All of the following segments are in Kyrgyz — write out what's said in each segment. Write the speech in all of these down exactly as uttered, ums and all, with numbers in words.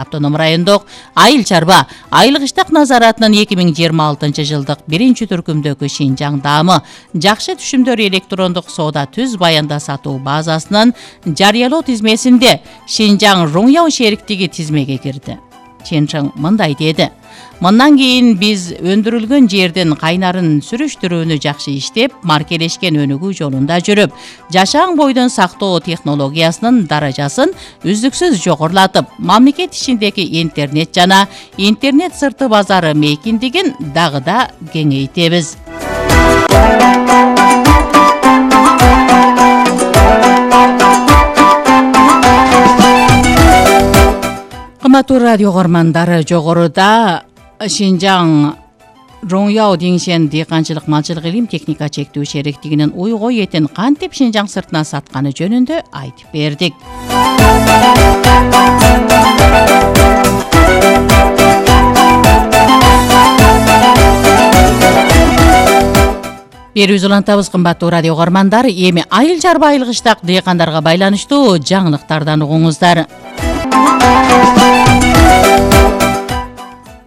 Автоном райондук айыл чарба айлык иштак назаратынын эки миң жыйырма алтынчы жылдык биринчи түркүмдөгү Шинжаң даамы жакшы түшүмдөр электрондук соода түз баянда сатуу базасынын жарыялоо тизмесинде Шинжаң Руңяу шериктиги тизмеге кирди. Ченчиң мындай деди: Мындан кийин биз өндүрүлгөн жердин кайнарын сүрүштүрүүнү жакшы иштеп, маркелешкен өнүгүү жолунда жүрүп, жашаң бойдон сактоо технологиясынын даражасын үздүксүз жогорулатып, мамлекет ичиндеги интернет жана интернет сырты базары мейкиндигин дагы да кеңейтебиз. Кымбаттуу радио көрөрмандары, жогоруда Шинжаң Руңяу Деңшен дыйканчылык малчылык илим техника чектүү шериктигинин уйгой этин кантип Шинжаң сыртына сатканы жөнүндө айтып бердик. Берүүбүз улантабыз, кымбаттуу радио көрөрмандар. Эми айыл чарба айлык иштак дыйкандарга байланыштуу жаңылыктардан угуңуздар.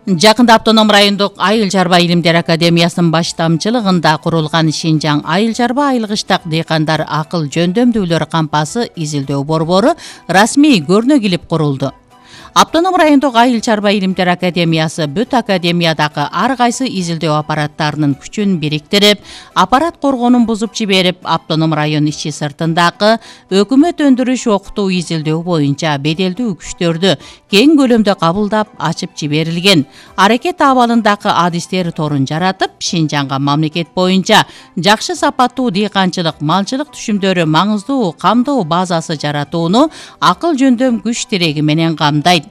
Жакында Автоном райондук айыл чарба илимдер академиясынын баштамчылыгында курулган Шинжаң айыл чарба айлык иштак дыйкандар акыл жөндөмдүүлөр кампасы изилдөө борбору расмий көрүнө килип курулду. Автоном райондук айыл чарба илимдер академиясы бүт академиядагы ар кайсы изилдөө аппараттарынын күчүн бириктирип, аппарат коргоонун бузуп жиберип, Автоном район ичи сыртындагы өкмөт өндүрүш окутуу изилдөө боюнча беделдүү күчтөрдү кең көлөмдө кабылдап ачып жиберилген аракет абалындагы адистер торун жаратып, Шинжаңга мамлекет боюнча жакшы сапаттуу дыйканчылык, малчылык түшүмдөрү маңыздуу камдоо базасы жаратууну акыл жөндөм күч тиреги менен камдайт.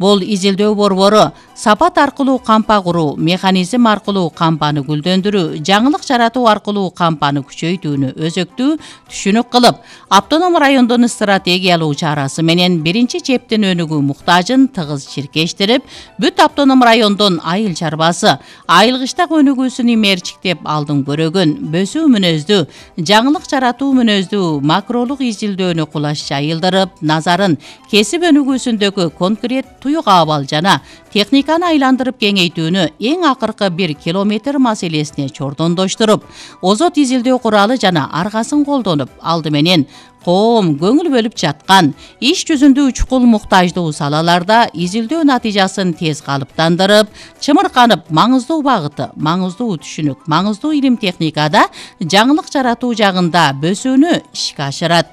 Бул изилдөө борбору сапат аркылуу кампа куруу, механизм аркылуу кампаны гүлдөндүрүү, жаңылык жаратуу аркылуу кампаны күчөйтүүнү өзөктүү түшүнүк кылып, Автоном райондун стратегиялуу чарасы менен биринчи чептин өнүгүү муктажын тыгыз чиркештирип, бүт Автоном райондун айыл чарбасы айылык иштак өнүгүүсүн имерчиктеп алдын көрөгөн, бөсүү мүнөздүү, жаңылык жаратуу мүнөздүү макролук изилдөөнү кулаш жайылдырып, назарын кесип өнүгүүсүндөгү конкрет туюк абал жана техниканы айландырып кеңейтүүнү эң акыркы бир километр маселесине чордондоштуруп, озот изилдөө куралы жана аргасын колдонуп, алды менен коом көңүл бөлүп жаткан иш жүзүндө учкул муктаждуу салаларда изилдөө натыйжасын тез калыптандырып, чымырканып, маңыздуу багыты, маңыздуу түшүнүк, маңыздуу илим техникада жаңылык жаратуу жагында бөсүүнү ишке ашырат.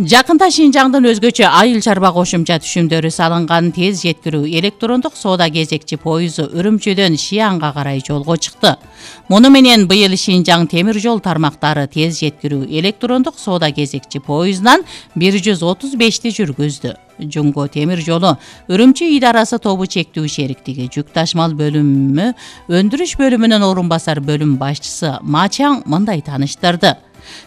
Жакында Шинжаңдын өзгөчө айыл чарба кошумча түшүмдөрү салынган тез жеткирүү электрондук соода кезекчи поезу Үрүмчүдөн Шиянга карай жолго чыкты. Муну менен быйыл Шинжаң темир жол тармактары тез жеткирүү электрондук соода кезекчи поездунан бир жүз отуз бешти жүргүздү. Жунго темир жолу Үрүмчү идарасы тобу чектүү шериктиги жүк ташмал бөлүмү өндүрүш бөлүмүнүн орун басар бөлүм башчысы Мачаң мындай таныштырды.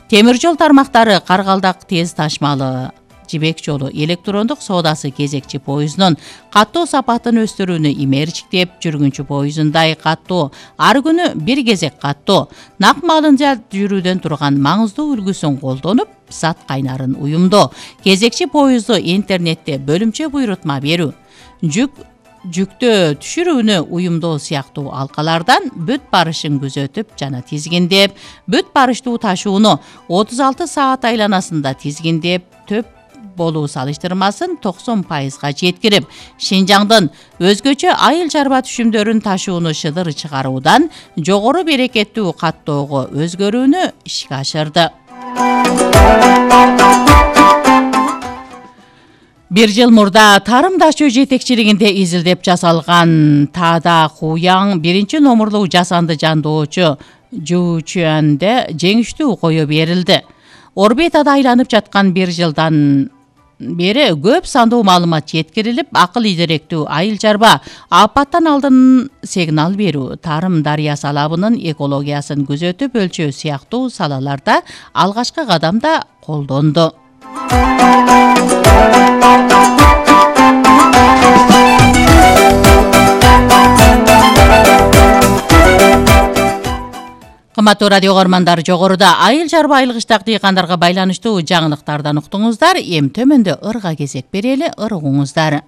Темир жол тармактары Каргалдак тез ташмалы жибек жолу электрондук соодасы кезекчи поездунун каттоо сапатын өстүрүүнү имерчиктеп, жүргүнчү поездундай каттоо ар күнү бир кезек каттоо, нак маалында жүрүүдөн турган маңыздуу үлгүсүн колдонуп, сат кайнарын уюмдоо, кезекчи поезду интернетте бөлүмчө буйрутма берүү, жүк жүктө түшүрүүнү уюмдоо сыяктуу алкалардан бүт барышын күзөтүп жана тизгиндеп, бүт барыштуу ташууну отуз алты саат айланасында тизгиндеп, төп болуу салыштырмасын токсон пайызга жеткирип, Шинжаңдын өзгөчө айыл чарба түшүмдөрүн ташууну шыдыр чыгаруудан жогору берекеттүү каттоого өзгөрүүнү ишке ашырды. Бир жыл мурда Тарым Дашчу жетекчилигинде изилдеп жасалган Таада Хуяң биринчи номурлуу жасанды жандоочу Жуучуанде жеңиштүү кое берилди. Орбитада айланып жаткан бир жылдан бери көп сандуу маалымат жеткирилип, акыл идеректүү айыл чарба апаттан алдын сигнал берүү, Тарым дарыясы алабынын экологиясын күзөтүп өлчөө сыяктуу салаларда алгачкы кадамда колдонду. Урматтуу радио көрмандар, жогоруда айыл чарба айылгычтак дыйкандарга байланыштуу жаңылыктардан уктуңуздар. Эми төмөндө ырга кезек берели, ыргуңуздар.